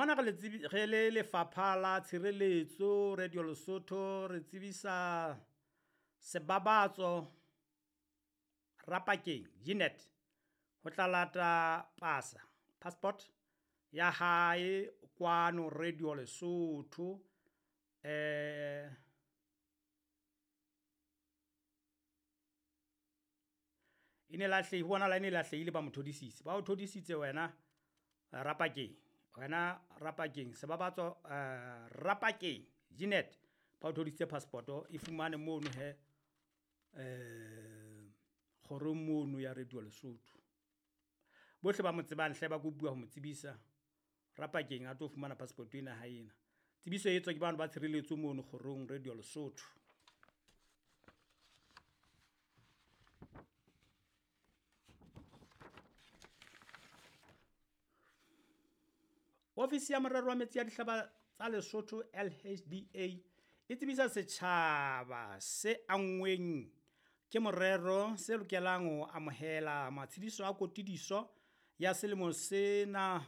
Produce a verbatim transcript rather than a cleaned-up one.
Mona re le tsebi re le lefapha la tshireletso Radio Lesotho re tsebisa sebabatso Rapakeng Jeanette ho tla lata pasa passport ya hae kwano Radio Lesotho. Eh e ne lahlehi ho bonahala e ne lahlehile ba mo thodisitse ba o thodisitse wena Rapakeng wena Rapakeng sebabatso eh Rapakeng Jeanette ba o thodisitse passport e fumane mono he eh kgorong mono ya Radio Lesotho. Bohle ba mo tsebang hle ba kopuwa ho mo tsebisa Rapakeng a tlo fumana passport ena ha ena. Tsebiso e etswa ke bano ba tshireletso mono kgorong Radio Lesotho. Ofisi ya morero wa metsi ya dihlaba tsa Lesotho L H D A e tsebisa setjhaba se anngweng ke morero se lokelang ho amohela matshediso a kotidiso ya selemo sena